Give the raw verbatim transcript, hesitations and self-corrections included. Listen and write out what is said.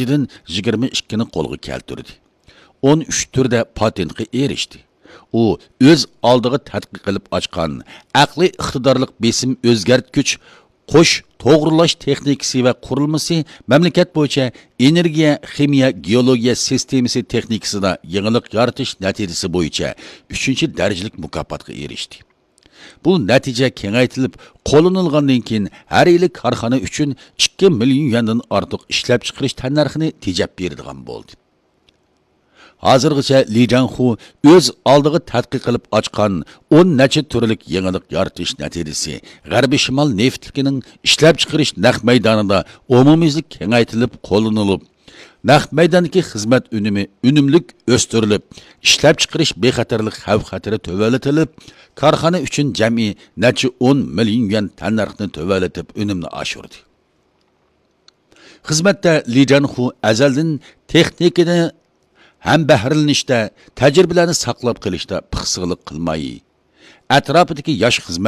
يىگىرمە ئىككىنى قولغا كەلتۈردى. ئون ئۈچ تۈردە پاتېنتقا ئېرىشتى. ئۇ ئۆز ئالدىغا تەتقىق قىلىپ ئاچقان ئەقلىي ئىقتىدارلىق بېسىم ئۆزگەرتكۈچ قوش توغرىلاش تېخنىكىسى ۋە قۇرۇلمىسى، مەملىكەت بويىچە ئېنېرگىيە، خىمىيە، گېئولوگىيە سىستېمىسى تېخنىكىسىدا يېڭىلىق يارىتىش نەتىجىسى بويىچە ئۈچىنچى دەرىجىلىك مۇكاپاتقا ئېرىشتى. بۇ نەتىجە كېڭەيتىلىپ قوللىنىلغاندىن كېيىن، ھەر يىلى كارخانا ئۈچۈن ئىككى مىليون يۈەندىن ئارتۇق ئىشلەپچىقىرىش تەننەرخىنى تېجەپ بېرىدىغان بولدى. ھازىرغىچە لى جاڭخۇ ئۆز ئالدىغا تەتقىق قىلىپ ئاچقان ئون نەچچە تۈرلۈك يېڭىلىق يارىتىش نەتىجىسى غەربىي شىمال نېفىتلىكىنىڭ ئىشلەپچىقىرىش نەق مەيدانىدا ئومۇميۈزلۈك كېڭەيتىلىپ قوللىنىلىپ، نەق مەيداندىكى خىزمەت ئۈنۈمى ئۈنۈملۈك ئۆستۈرۈلۈپ، ئىشلەپچىقىرىش بىخەتەرلىك خەۋپ-خەتىرى تۆۋەنلىتىلىپ، كارخانا ئۈچۈن جەمئىي نەچچە ئون مىليون يۈەن تەننەرخنى تۆۋەنلىتىپ ئۈنۈمنى ئاشۇردى. خىزمەتتە لى جانخۇ ئەزەلدىن تېخنىكىنى ھەم بەھرىلىنىشتە، تەجرىبىلەرنى ساقلاپ قېلىشتا پىخسىقلىق قىلماي، ئەتراپىدىكى ياش خىزمەت